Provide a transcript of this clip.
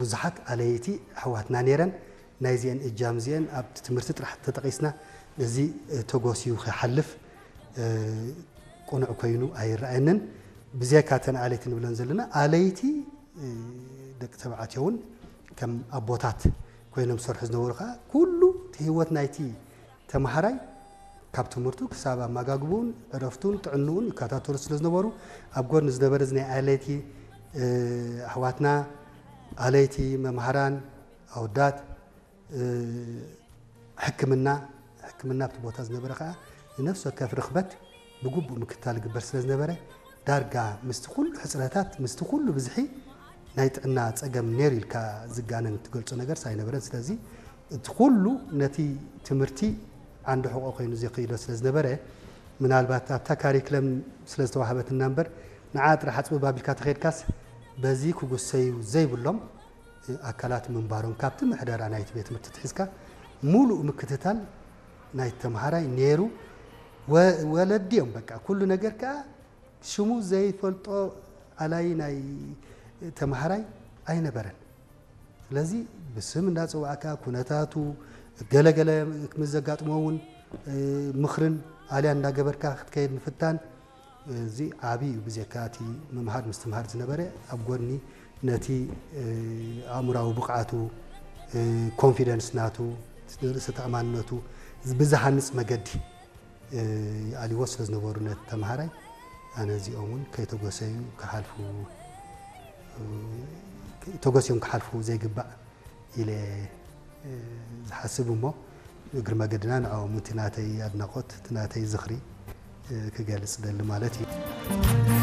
ብዙሓት ኣለይቲ ኣሕዋትና ነይረን። ናይዚአን እጃም እዚአን ኣብቲ ትምህርቲ ጥራሕ ተጠቒስና፣ እዚ ተጎስዩ ክሓልፍ ቅኑዕ ኮይኑ ኣይረኣየንን። ብዘይካ እተን ኣለይቲ ንብለን ዘለና፣ ኣለይቲ ደቂ ተባዕትዮ እውን ከም ኣቦታት ኮይኖም ዝሰርሑ ዝነበሩ ከዓ፣ ኩሉ እቲ ህይወት ናይቲ ተምሃራይ ካብ ትምህርቱ ክሳብ ኣመጋግቡን ዕረፍቱን ጥዕንኡን ይከታተሉ ስለ ዝነበሩ፣ ኣብ ጎድኒ ዝነበረ እዚ ናይ ኣለይቲ ኣሕዋትና፣ ኣለይቲ መምሃራን፣ ኣወዳት፣ ሕክምና፣ ሕክምና ኣብቲ ቦታ ዝነበረ ከዓ ንነፍሲ ወከፍ ርኽበት ብግቡእ ምክትታል ይግበር ስለ ዝነበረ፣ ዳርጋ ምስቲ ኩሉ ሕፅረታት፣ ምስቲ ኩሉ ብዝሒ ናይ ጥዕና ፀገም ነይሩ ኢልካ ዝጋነን ትገልፆ ነገር ኣይነበረን። ስለዚ እቲ ኩሉ ነቲ ትምህርቲ ዓንዲ ሕቆ ኮይኑ ዘክይዶ ስለ ዝነበረ፣ ምናልባት ኣብታ ካሪክለም ስለ ዝተዋህበትና እምበር፣ ንዓ ጥራሕ ኣፅብብ ኣቢልካ ተኸይድካስ፣ በዚ ክጉሰዩ ዘይብሎም ኣካላት ምንባሮም፣ ካብቲ ምሕደራ ናይቲ ቤት ትምህርቲ ትሒዝካ ሙሉእ ምክትታል ናይ ተምሃራይ ነይሩ። ወ-፣ ወለዲ እዮም በቃ ኩሉ ነገር ከዓ ሽሙ ዘይፈልጦ ኣላይ ናይ ተምሃራይ ኣይነበረን። ስለዚ ብስም እንዳጸዋዕካ ኩነታቱ፣ ገለገለ ምስ ዘጋጥሞ እውን ምኽርን ኣልያን እንዳገበርካ ክትከይድ ምፍታን፣ እዚ ዓቢ እዩ። ብዘካ እቲ ምምሃር ምስትምሃር ዝነበረ፣ ኣብ ጎድኒ ነቲ ኣእምራዊ ብቕዓቱ፣ ኮንፊደንስ ናቱ፣ ርእሰ ተኣማንነቱ ብዝሃንጽ መገዲ ይኣልዎ ስለ ዝነበሩ ነቲ ተምሃራይ፣ ኣነ እዚኦም እውን ከይተጎሰዩ ክሓልፉ፣ ተጎስዮም ክሓልፉ ዘይግባእ ኢለ ዝሓስብ እሞ፣ እግሪ መገድና ንዕኦም እቲ ናተይ ኣድናቖት፣ እቲ ናተይ ዝኽሪ ክገልጽ ደሊ ማለት እዩ።